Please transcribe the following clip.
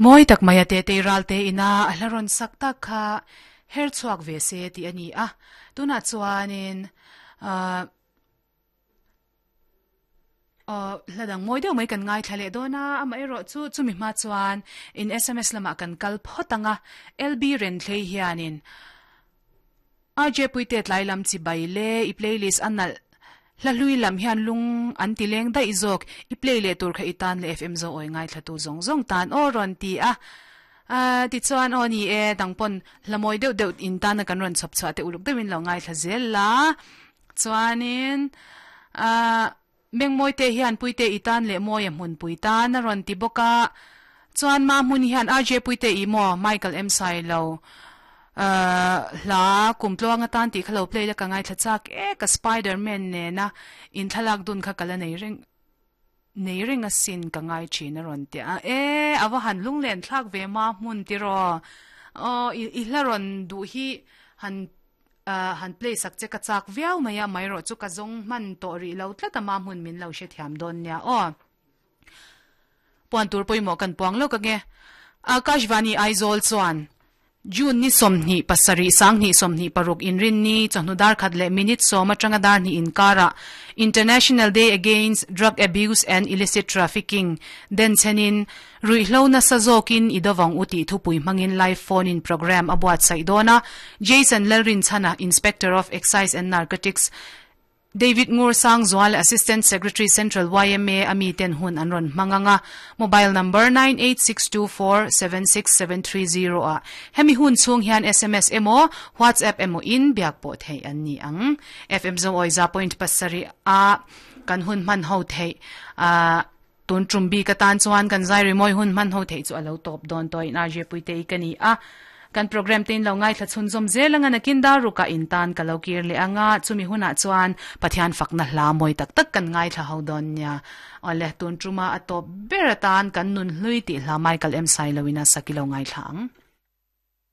Mawi tak mai a Tetei Ralte ina a hla rawn sak tak kha her chhuak ve se tih a ni a. Tunah chuanin ahh aw hla dang mawi deuh mai kan ngaithla leh dawn a, amaherawh chu chumi hma chuan in sms lamah kan kal phawt ang a, LB Renthlei hianin RJ Puite tlai lam chi bai le i playlist a nalh hla hlui lam hian lung an ti leng daih zawk i play leh tur kha i tan leh FM zo awi ngaithla tu zawng zawng tan aw rawn ti a ah tichuan aw ni e dang pawn hla mawi deuh deuh in tana kan rawn chhawp chhuah te uluk deuhin lo ngaithla zel la chuanin ah Mengmawite hian Puite i tan leh Mawia hmunpui tan a rawn ti bawk a, chuan ma hmun hian RJ Puite i maw Michael M Sailo hla kum tluang atan tih kha lo play la ka ngaithla chak e ka Spider Man nena in thlalak dun kha ka la nei reng nei reng asin ka ngai thin a rawn ti a e a va han lunglen thlak ve ma hmun tiraw aw i hla rawn duh hi han Han play sak che ka chak viau mai a, amaherawh chu ka zawng hman tawh rih lo tlat a, ma hmun min lo hrethiam dawn nia aw. Puan tur pawimawh kan puang lawk ange. Akashvani Aizawl chuan June ni 27 2026 inrinni chawhnu dar khat leh minute sawm atanga dar hnih inkarah International Day Against Drug Abuse and Illicit Trafficking denchhenin Ruihhlo nasa zawkin i dawvang u tih thupui hmangin live phone in programme a buatsaih dawn a, Jason Lalrinchhana, Inspector of Excise and Narcotics, David Ngur Sangzual, Assistant Secretary Central yma a miten hun an rawn hmang ang a, mobile number 9862476730 ah hemi hun chhung hian sms emaw WhatsApp emaw in biak pawh theih an ni ang. FM Zoawi za point pasarih a kan hun hman ho theih a. Tun tum bik atan chuan kan zai rimawi hun hman ho theih chu a lo tawp dawn tawh in RJ Puitei ka ni a. Kan program te in lo ngaithla chhunzawm zel anga nakin dar rukah in tan ka lo kir leh anga chumi hunah chuan Pathian fakna hla mawi tak tak kan ngaithla ho dawn nia. Awle tun tuma a tawp ber atan kan nun hlui tih hla Michael M Sailoin a sak i lo ngaithla ang.